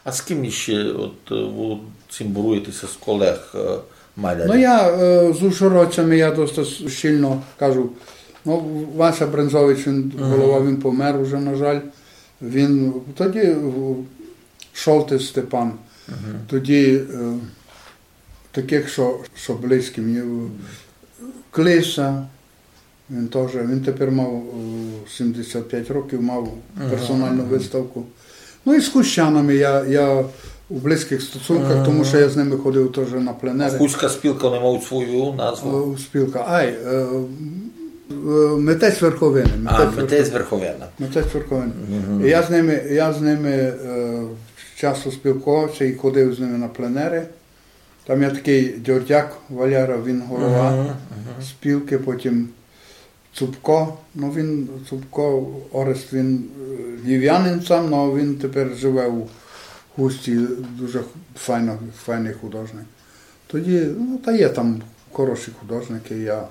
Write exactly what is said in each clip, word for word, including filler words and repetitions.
А з ким іщи от, е, вы цімборуєте ся з колег, е, малярів? Ну, я, е, з ужгородцями я доста с-, щільно кажу. Ну, Вася Брензович, він голова, він помер уже, на жаль. Він тоді, е, Шолтес Степан. Тоді, е, таких, што, што близькі мені, е, Клиса, він тоже, він тепер мав, е, сімдесят пять років, мав персоналну выставку. Ну і з хустянами я, я у близьких стосунках, тому што я з ними ходив тоже на пленери. Хустська спілка, вони мають свою назву? Е, спілка. Ай, е, е, митець Верховины. А, митець Верховины. Митець Верховины. Я з ними, я з ними, е, часто спілкувався і ходив з ними на пленери. Там є такый Дьордяк Валера, він голова спілки, потім Цупко. Ну, він, Цупко Орест, він, е, львів'янин сам, но він тепер живе у Хустці, дуже файно, файный художник. Тоді, ну, та є там хороші художники, я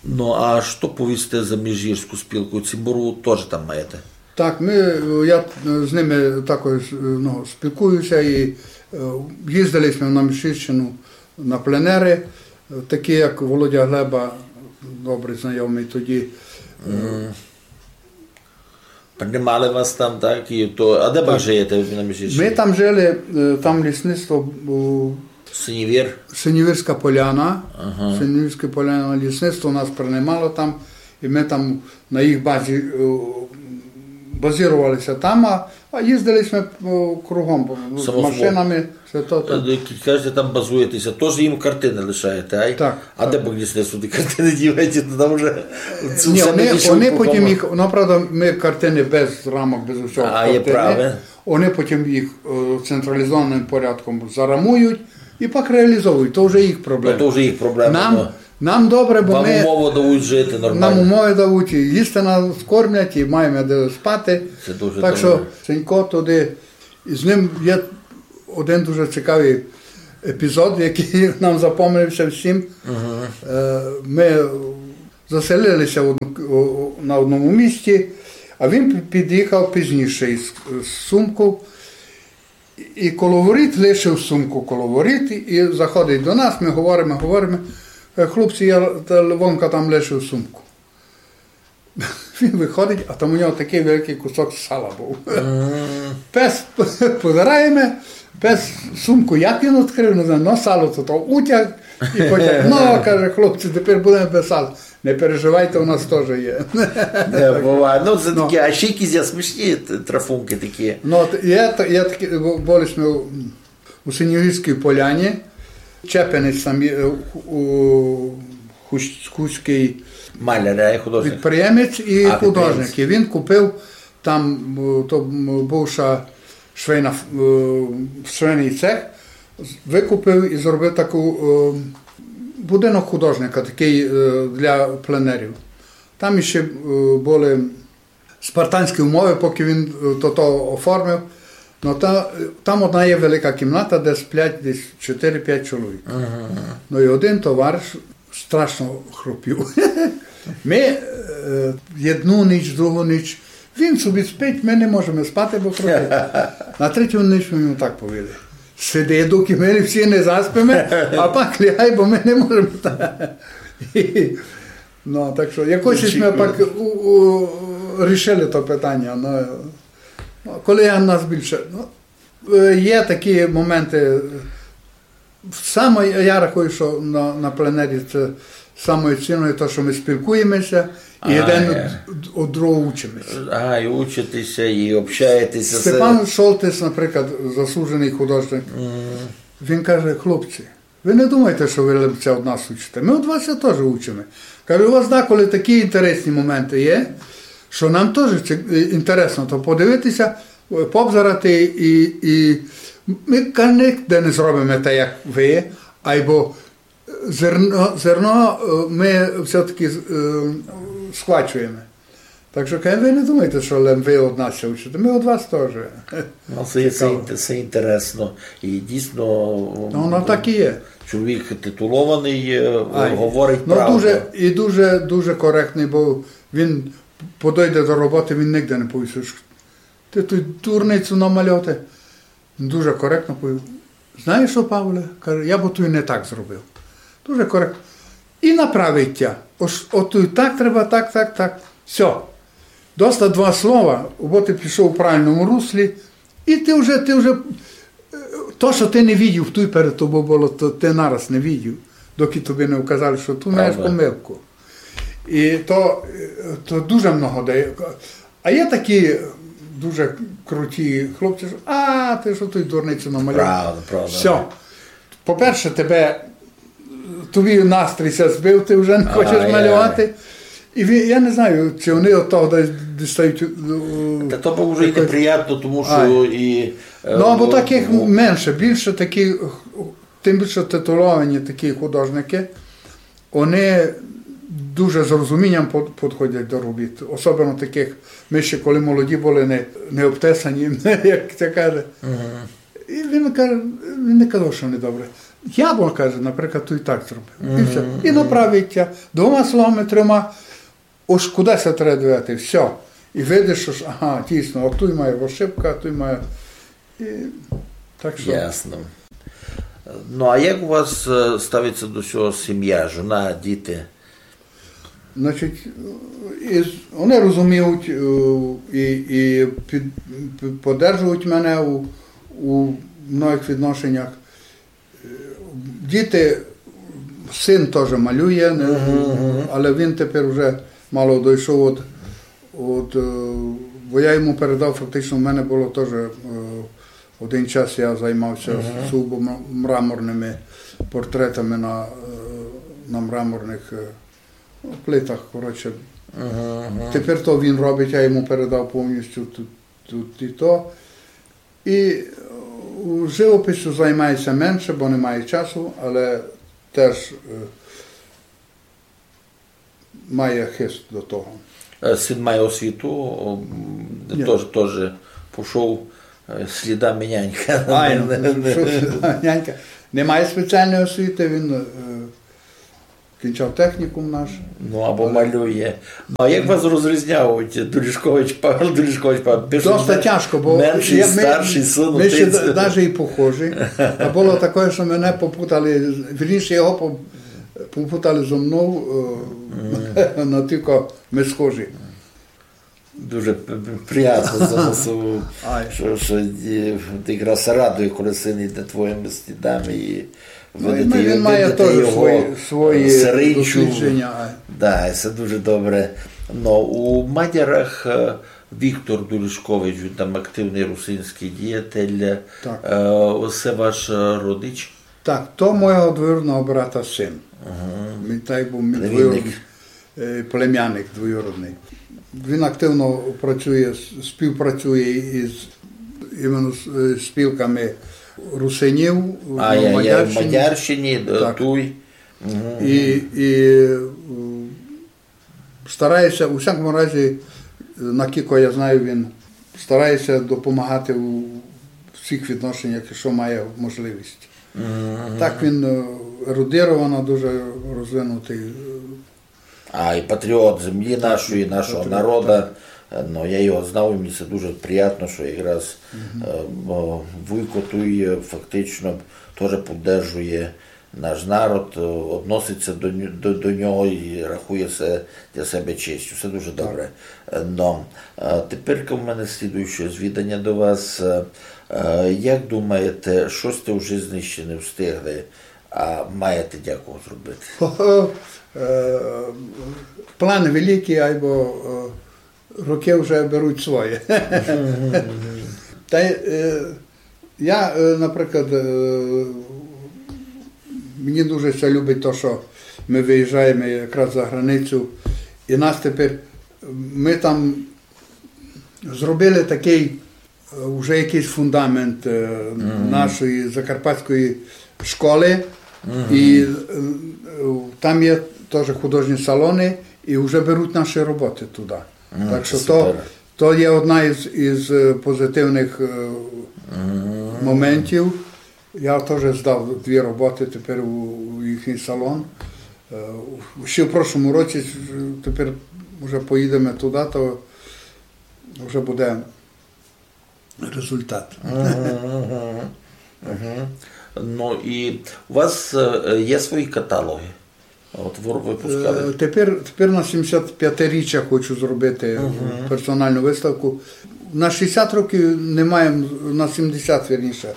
Ну, а што повісте за міжгірську спілку? Цімбору тоже там маєте? Так, мы, е, я, е, з ними також, е, ну, спілкуюся і, е, їздили сьме на Міжгірщину на пленери, е, такі як Володя Глеба, добрый знайомый тоді. Е, Принимали вас там, так? І то, а де вы жиєте на Міжгірщині? Мы там жили, е, там лісництво, е, Синівір? Синівірська Поляна. Ага. Синівірська Поляна, лісництво нас принимало там, і мы там на їх базі, е, базировали ся там, а, а їздили сьме, е, кругом, е, машинами, всьо то, то. Е, як кажете, там базуєте ся, тож їм картины лишаєте, ай? Так. А де пак лісництво ті картины діваєте? То там уже... Ні, они, они потім їх, ну, правда, мы картины без рамок, без усього. А, є праве. Они потім їх, е, централізованым порядком зарамують і пак реалізовують. То вже їх проблема. Ну, то вже їх проблема, нам, ну. Нам добре, бо... Вам умовы дають жити нормално. Нам умовы дають, і їсти нас кормлять, і маєме де спати. Се дуже добре. Так што, Сенько туды, і з ним є один дуже цікавый епізод, якый нам запомнився всім. Е, мы заселили ся в одну, у, у, на одному місці, а він пі-, під'їхав пізніше із, з сумков. І, і коло воріт лишив сумку коло воріт, і заходить до нас, мы говориме, говориме. Каже: «Хлопці, я та-, вонка там лишив сумку». Він выходить, а там у нього такый великый кусок сала быв. Пес, позираєме, пес сумку, як він відкрыв, не знаю, но сало то, то утяг і потяг. «Ну, — каже, — хлопці, тепер будеме без сала». «Не переживайте, у нас тоже є». Не, буває. Ну, се такі, а ще якісь є смішні т-, трафункы такі. Ну, от є та-, є такі, бу-, были сьме у, у Синьовірській Поляні. Чепинець там є, е, у, у Хус-, Хустськый... Маляр, а, художник. Підприємець і художник. А, підприємець. І він купив там, е, то, м, бывша швейна ф-, е, швейный цех, з-, выкупив і зробив таку, е, будинок художника, такый, е, для пленерів. Там іщи, е, были спартанські умовы, покы він, е, то, то оформив. Но та, там одна є велика кімната, де сплять десь чотири-пять чоловік. Ага. Но і один товариш страшно хропів. Мы, е, єдну ніч, другу ніч, він собі спить, мы не можеме спати, бо хропить. На третю ніч мы йому так повіли: «Сиди, докы мы всі не заспиме, а пак лягай, бо мы не можеме». Ну, так што якось сьме пак у, у, рішили то питаня. Ну, ну, коли я нас більше, ну, е, є такі моменты, Саме, я рахую, што на, на пленері се саме цінне то, што мы спілкуєме ся, і один од, од другого учиме ся. А, і учите ся, і общаєте ся. Степан Шолтес, наприклад, заслуженый художник, він каже: «Хлопці, вы не думайте, што вы лем ся од нас учите. Мы од вас ся тоже учиме». Каже: «У вас даколи такі інтересні моменты є, што нам тоже ци-, інтересно то подивити ся, позирати, і, і мы, каже, нигде не зробиме так, як вы, айбо зерно, зерно, е, мы всьо-таки, е, схвачуєме. Так што, каже, вы не думайте, што лем вы од нас ся учите, мы од вас тоже». Ну, се, се інте-, се інтересно. І дійсно, ну, воно так і є. Чоловік титулованый, е, говорить правду. Ну, дуже, і дуже, дуже коректный быв. Він подойде до роботы, він нигде не повість, што Ты туй дурницю намалював. Дуже коректно повів: «Знаєш што, Павле, — каже, — я бы туй не так зробив». Дуже коректно. І направить тя. Ож, от туй так треба, так, так, так. Всьо. Доста два слова, бо ты пішов у правильному руслі, і ты вже, ты вже, е, то, што ты не видів, туй перед тобою было, то ты нараз не видів, докі тобі не вказали, што туй маєш помилку. І то, е, то дуже много дає. А є такі дуже круті хлопці, што: «А, ты што туй дурницю намалював?» Правда, правда. Всьо. По-перше, тебе, тобі настрій ся збив, ты вже не хочеш малювати. І ві-, я не знаю, чи они од того десь дістають, е, та то было вже і якось неприятно, тому што і, е, ну, або таких менше, більше такі, тым більше титуловані такі художникы, они дуже з розумінням под-, подходять до робіт. Особливо таких, мы ще коли молоді были, не, не обтесані, як ся каже. І він каже, він не казав, што недобре. Я бы, каже, наприклад, туй так зробив. І всьо. І направить тя двома словами, трьома, ож куды ся треба дивити, всьо. І видиш, што ж, ага, дійсно, от туй має ошибка, а туй має. І так што. Ясно. Ну, а як у вас, е, ставить ся до всього сім'я, жона, діти? Значить, і з-, они розуміють, е, і, і під-, під-, поддержують мене у, у многих відношеннях. Е, діти, син тоже малює, не, але він тепер уже мало дойшов од, од, е, бо я йому передав, фактично, в мене было тоже, е, один час я займався сугубо м-, мраморными портретами на, е, на мраморных, е, плитах, коротше. Тепер то він робить, я йому передав повністю тут, тут і то. І, е, живописю займає ся менше, бо не має часу, але теж, е, має хист до того. Е, син має освіту, о, м, тоже, тоже пішов, е, слідами нянька. Айно, пішов слідами нянька. Не має спеціалної освіти, він, е, кінчав технікум наш. Ну, або малює. Ну, а як вас розрізнявуть? Доріжкович Павел, Доріжкович Павел. Пишуть: доста тяжко, бо менший, старший син, ми ще даже і похожі. А было таке, што мене попутали, вірніше, його по-, попутали зо мнов, е, на тілько ми схожі. Дуже п-, п-, приятно за вас, што, што, е, якраз радує, коли син іде твоїми слідами і видите, він має тоже його свої, свої дослідження. Да, і се дуже добре. Но у Мадярах, е, Віктор Доріжкович, він там активный русинськый діятель. Так. Е, се ваш, е, родич? Так, то мого двоюродного брата син. Він так быв мій двоюродный, е, племянник двоюродный. Він активно працює, с-, співпрацює із, іменно з, е, спілками русинів у Мадярщині. А, я, я в Мадярщині, е, туй. І, і, е, старає ся, у всякому разі, накілько я знаю, він старає ся допомагати у всіх відношеннях, што має можливість. Так він, е, ерудировано дуже розвинутый. А, і патріот землі нашої, нашого народа. Е, ну, я його знав, і мені се дуже приятно, што якраз, е, о, вуйко туй, е, фактично тоже поддержує наш народ, е, односить ся до ню-, до, до нього і рахує се для себе честю. Се дуже добре. Е, но, е, теперь у мене слідуюче звіданя до вас. Е, е, як думаєте, што сьте у жизни ще не встигли, а маєте дякого зробити? Хо-хо, е, планы великі, айбо, е, рокы вже беруть своє. Та й, е, я, е, наприклад, е, мені дуже ся любить то, што мы выїжджаєме якраз за границю, і нас тепер, мы там зробили такый, е, уже якыйсь фундамент, е, нашої закарпатської школы. І, е, там є тоже художні салоны, і вже беруть наші роботы туды. Так што то, то є одна із, із, е, позитивных, е, моментів. Я тоже здав дві роботы тепер у, у їхній салон. Е, ще в прошлому році, е, тепер уже поїдеме туды, то вже буде результат. Мгм, мгм, мгм. Ну і у вас е, є свої каталоги? От ви выпускали? Е, Тепер, тепер на сімдесят пятиріччя хочу зробити персоналну виставку. На шістдесят років не маєм, на сімдесят, вірніше,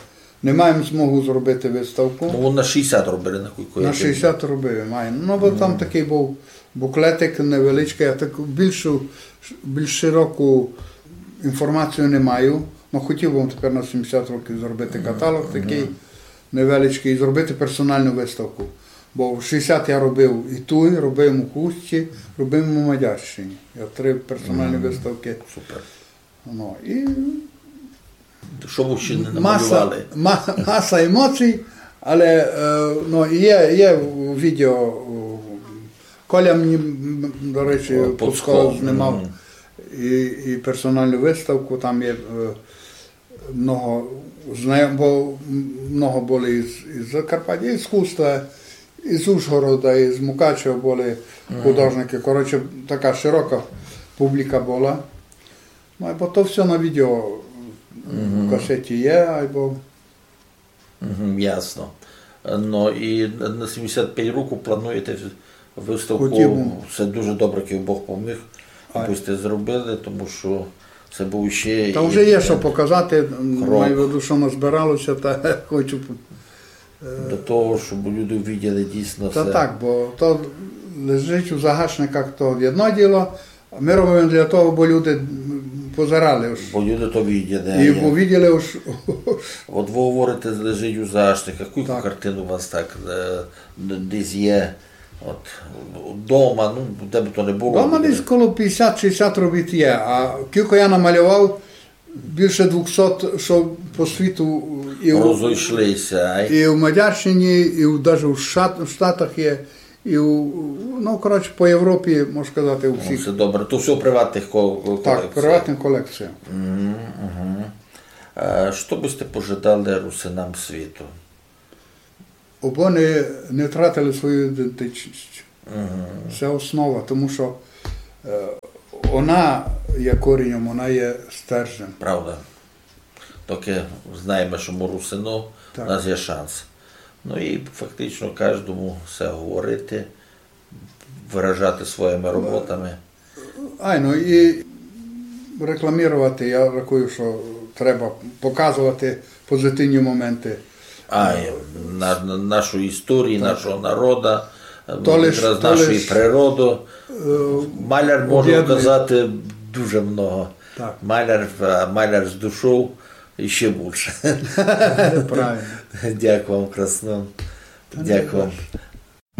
не маєм змогу зробити виставку. Ну, вон на шістдесят робили, на кілько я На шістдесят робив, маєм. Ну, бо там такий був буклетик невеличкий, я так більшу, більш широку інформацію не маю. Ну, хотів би тепер на сімдесят років зробити каталог такий невеличкий і зробити персоналну виставку. Бо в шістдесят я робив і туй, робив у Хустці, робив у Мадярщині. Я три персоналні виставки. Супер. Ну, і Що ви ще не маса, намалювали? ма- маса емоцій, але е, ну, є, є відео. О, Коля мені, м, до речі, О, Пуцко Пуцко, знімав мгм. і, і персоналну виставку, там є е, много знайом, бо много були із, із Закарпаття, із Хуста, із Ужгорода, із Мукачева були художники. Коротше, така широка публіка була. Ну, або то все на відео в касеті є, або Мгм, ясно. Ну і на сімдесят пять років плануєте виставку. Хотів би. Це дуже добре, як Бог поміг, Ай. аби сте зробили, тому що це був ще Та і- вже є що показати, Крок. маю в виду, що назбиралося, та хочу. до того, щоб люди виділи дійсно Та все. Так, бо то лежить у загашниках, то єдно діло. Ми робимо для того, бо люди м, позирали. Ож. Бо люди то виділи. І а бо я- виділи, ож. От ви говорите, лежить у загашниках. Кілько Так. Картин у вас так е, д- десь є? От вдома, ну де б то не було. Дома буде. Десь коло пятдесят-шістдесят робіт є, а кілько я намалював, більше двохсот, що по світу і у, Розійшлися. Ай. і в Мадярщині, і в, даже в Штат- в Штатах є, і у, ну, коротше, по Європі, можна сказати, у Ну, всіх. Це добре. То все у приватних ко- ко- Так, колекціях. Приватна колекція. Мгм, мгм. Е, Що би сте пожадали русинам світу? Обы не, не втратили свою ідентичність. Це основа, тому що е, вона є коренем, вона є стержнем. Правда. Доки знаємо, що ми русино, Так. у нас є шанс. Ну і фактично кожному все говорити, виражати своїми роботами. Айно, і рекламувати, я рахую, що треба показувати позитивні моменти. А, і на, на нашу історію, нашого народу, То лиш- якраз то нашу лиш, природу. Е, Маляр може об'єднує. вказати дуже много. Так. Маляр, а, маляр з душою і ще більше. Правильно. Дякую вам, красно. Дякую вам.